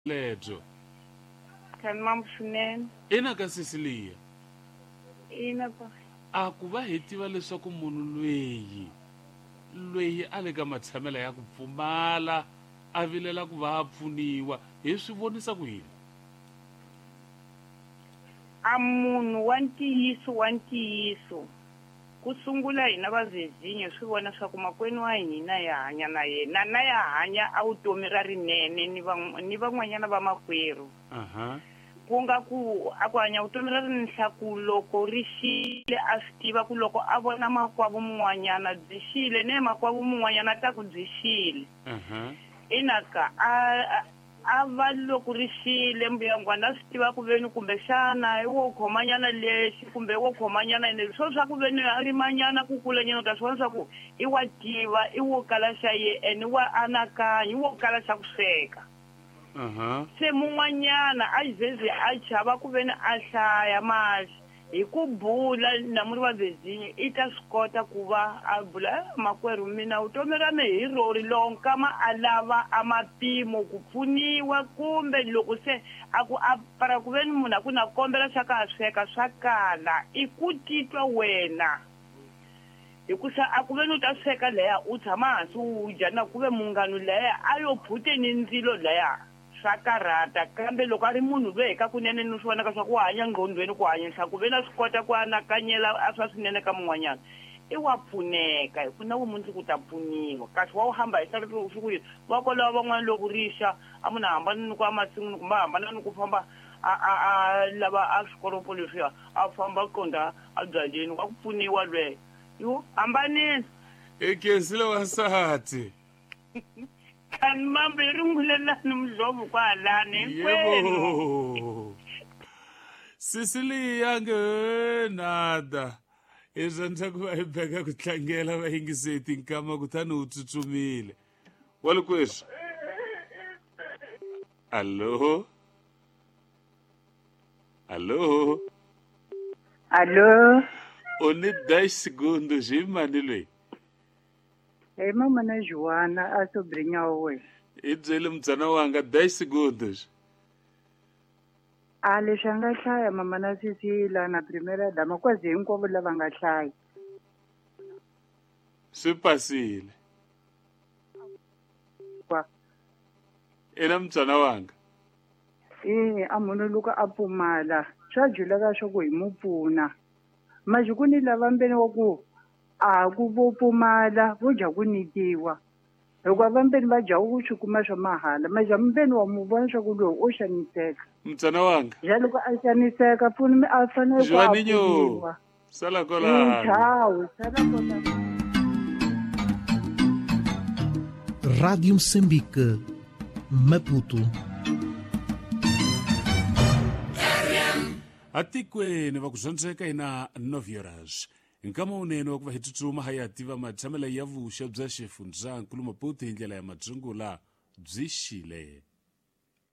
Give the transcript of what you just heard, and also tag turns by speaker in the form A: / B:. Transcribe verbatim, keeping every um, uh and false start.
A: Lebyo.
B: Kani mambo swinene.
A: Ina ka Cecilia.
B: Ina pa.
A: A ku va hi tiva leswaku munhu lweyi lweyi a le ka matshamela ya ku pfumala a vilela ku va a pfuniwa hi swi vonisa ku yini?
B: A munhu wa ntiyiso wa ntiyiso ku sungula hina vazezinyo swi vona swa ku makwenu wa hina ya hanya na yena na ya hanya a vutomi ra rinene ni va ni van'wanyana va makwerhu.
A: Aha.
B: Ku nga ku a ku hanya vutomi ra rinhla ku loko ri xile a swi tiva ku loko a vona makwavo mun'wanyana byi xile ne makwavo mun'wanyana ta ku byi xile.
A: Aha.
B: Ina ka a a va loko ri xile mbuyangwana a swi tiva ku veni kumbexana i wo khomanyana lexi kumbe wo khomanyana ene swo swa ku veni a rimanyana ku kulanyana u ta swi vona swa ku i wa tiva i wo kala xa ye ene wa anakanya i wo kala xa ku sweka.
A: Aha.
B: Se mun'wanyana a zeze a chava ku veni a hlaya mali hi ku bula na muri va vezinyo i ta swi kota ku va a bula makwerhu mina vutomi ra me hi rori loko nkama a lava a mapimo ku pfuniwa kumbe loko se a ku a para ku veni munhu a ku na kombela swa ka sweka swa kala i ku titwa wena hikusa a ku veni u ta sweka leya u tshama hansi u dya na ku ve munghano leya a yo phuteni ndzilo leya swa karhata kambe loko a ri munhu loyi ka kunene ni swi vonaka swa ku hanya ngqondweni ku hanya ku ve na swi kota ku anakanyela a swa swinene ka mun'wanyana i wa pfuneka hi ku na vumundzuku ta pfuniwa kasi wa wu hamba hi swi ku yini va kwalaho van'wana loko rixa a munhu a hambana ni ku ya masin'wini kumbe a hambana ni ku famba a a a lava a swikoropo leswiya a famba qonda a byaleni wa ku pfuniwa lweyo yo hambanile.
A: I khensile wansati.
B: Kani mambo hi rungulelani mudlovu kwalani hinkwenu.
A: Yebo. Cecilia nge nada. I swa ku va hi beka ku tlangela vayingiseti nkama kutani u tsutsumile. Walikweswi. Allo. Allo.
C: Allo.
A: U ni dez segundos hi mani loyi?
C: Hi mama na Joana a Sobrinhawe.
A: I byele mbyana wanga dez segundos.
C: A leswi a nga hlaya mama na Cecilia na primera dama kwazi hinkwavo lava nga hlaya.
A: Swi pasile.
C: Kwa.
A: Ina mbyana wanga.
C: E a munhu loko a pfumala swa juleka swa ku hi mu pfuna. Manje ku ni lava mbeni wa ku a ku vo pfumala vo dya ku nyikiwa hikuva vambeni va dya ku swi kuma swa mahala manje mbeni wa mu vona swa ku lowu o xaniseka.
A: Mtsana wanga.
C: Ja loko a xaniseka pfuni a fanele ku a pfuniwa.
A: Sala kolano.
C: Tchau, sala kolano.
D: Rádio Moçambique, Maputo.
A: Atikweni va ku dyondzeka ina nove horas. Nkama wunene wa ku va hi tsutsuma ha ya tiva matshamela ya vuxa bya xifundzankulu Maputo hi ndlela ya madzungula byi xile.